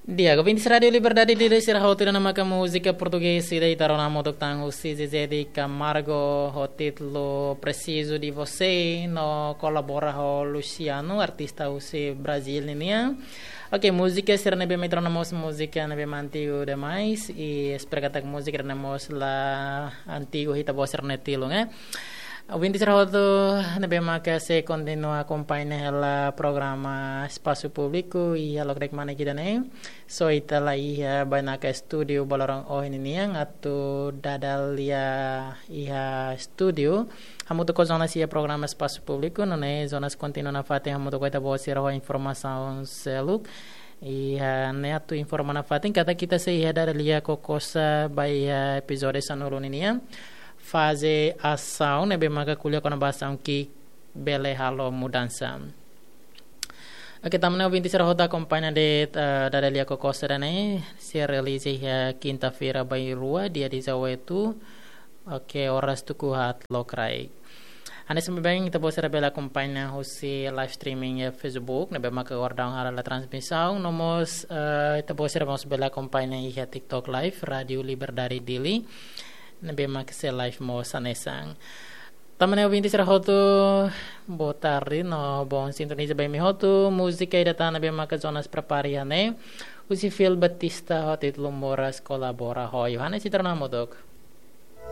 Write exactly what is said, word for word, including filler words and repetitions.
Di'ak, ouvintes Rádio Liberdade Dili sira hotu, ida-ne'e maka múzika portugés ida ita rona hamutuk tan husi Zezé de Camargo ho títulu Preciso de Você, no kolabora ho Luciano, artista husi Brazil ninian. Oke, múzika sira ne'ebé mak ita rona mós múzika ne'ebé mak antigu demais, i espera katak múzika ne'e mós la antigu ita-boot sira-nia tilun, eh. Ouvintes sira hotu ne'ebé maka sei kontinua akompaña hela programa Espasu Públiku iha loke-manek ida-ne'e. So ita la iha bainaka estúdiu ba loron ohin ninian, atu dada lia iha estúdiu hamutuk ho Jonas iha programa Espasu Públiku, nune'e Jonas kontinua nafatin hamutuk ho ita-boot sira ho informasaun seluk. Iha ne'e atu informa nafatin katak ita sei iha dada lia kokosa ba iha epizódiu sanulu ninian, faze asaun ne'ebé maka ko'alia kona-ba asaun ki'ik bele halo mudansa. Oke, tanba ne'e ouvintes sira hotu akompaña de'it, eh, dada lia kokosa ida-ne'e sei realiza iha kinta-feira bainrua, dia dezoito. Oke, oras tuku haat lokraik. Hanesan ne'ebé ita-boot sira bele akompaña husi live streaming iha Facebook, ne'ebé maka agora daudaun halo la transmisaun, no mós, eh, ita-boot sira mós bele akompaña iha TikTok Live, Rádio Liberdade Dili, ne'ebé maka sei live mós hanesan. Tanba ne'e ouvintes sira hotu, boa tarde, no bom sintoniza ba imi hotu, múzika ida tan ne'ebé maka Jonas prepara iha ne'e, husi Phil Baptista ho títulu Moras kolabora ho Yohanes, ita rona hamutuk.